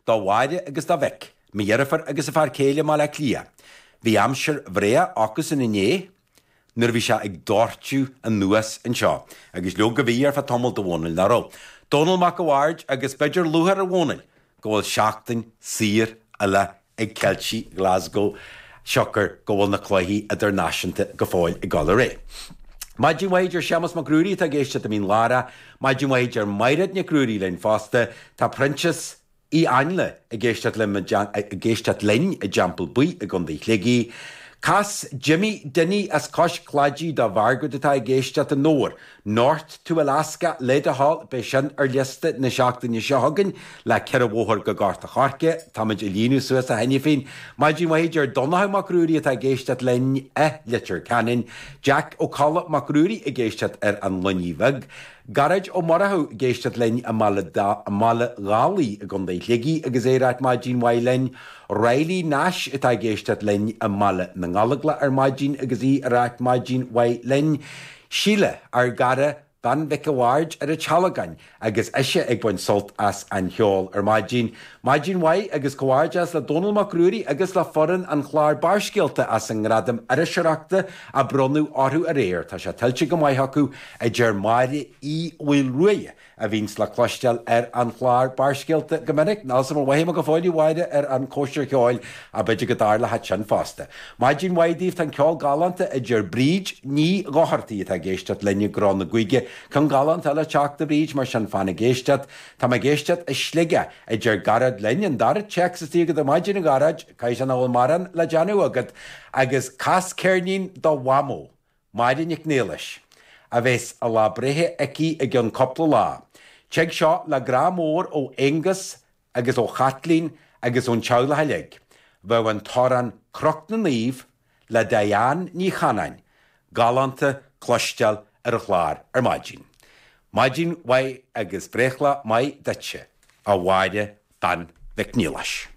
do Mháire agus dá mhic, mo dheirfiúr agus a fear céile i mBaile Átha Cliath. Bhí aimsir bhréa acusan inné nuair a bhí sé ag doirteadh anuas anseo. Agus leoga bhí ar feadh tamaill a Dhónaill, nach raibh? Dónall Mac a' Bhaird agus b'fhéidir lúcháir ar Dhónall go bhfuil seachtain saor eile ag Ceiltigh Glasgow siocair go bhfuil na cluichí idirnáisiúnta go fóill ag dul ar aghaidh. Maidin mhaith a deir Séamus Mac Ruairí atá ag éisteacht i Mín Lárach. Maidin mhaith a deir Mairéad Nic Ruairí linn fosta. Tá Proinsias Uí Ainle ag éisteacht ag éisteacht linn i dTeampall Buí i gContae Shligigh. Cas Jimmy Dinny as Cois Claidí do Mhargaret atá ag éisteacht i nDobhar. North to Alaska le do thoil, beidh sin ar liosta na seachtaine seo chugainn le 4 bhóthar go Gort a' Choirce. Táimid ag líonadh suas a cheana féin. Maidin mhaith a deir Donnchadh Mac Ruairí atá ag éisteacht linn i Leitir Ceanainn. Jack Ó Colla Mac Ruairí ag éisteacht ar an Luinnigh Bheag. Gearóid Ó Murchú ag éisteacht linn i mBaile Dálaigh i gContae Shligigh agus é ag ráit maidin mhaith linn. Riley Nash atá ag éisteacht linn i mBaile na nGallóglach ar maidin agus í ag ráit maidin mhaith linn. Síle, ár gcara, bean Mhic a' Bhaird ar an Tealgán agus ise ag baint sult as an cheol ar maidin. Maidin mhaith agus comhghairdeas le Dónall Mac Ruairí agus le foireann an chláir Barrscéalta as an ngradam iriseoireachta a bronnadh orthu aréir. Tá sé tuillte go maith acu, a deir Máire Uí Mhaolruaidh, a bhíonns le cloisteáil ar an chlár Barrscéalta go minic. Níl 's a'm ar mhothaigh mé go fóill, a Mháire, ar an chóisir cheoil, ach b'fhéidir go dtarlóidh sin fosta. Maidin mhaith daoibh, tá an ceol galánta, a deir Bríd Ní Dhochartaigh atá ag éisteacht linn i gCró na gCuige. Ceann galánta eile ag teacht, a Bhríd, mar sin fan ag éisteacht. Tá mé ag éisteacht i Sligeach, a deir Gearóid linn. An dara téacs istigh agat ar maidin, a Ghearóid, caithfidh sé nach bhfuil mórán le déanamh agat, agus cas ceirnín do Mhamó, Máire Nic Niallais, a bheas a lá breithe aici i gceann cúpla lá. Tig seo le grá mór ó Aonghus agus ó Chaitlín agus ón teaghlach uilig. Bheadh an t-amhrán Cnoc na Naomh le Diane Ní Chanáin galánta cloisteáil ar an chlár ar maidin. Maidin mhaith agus breithlá maith duitse, a Mháire Bean Mhic Niallais.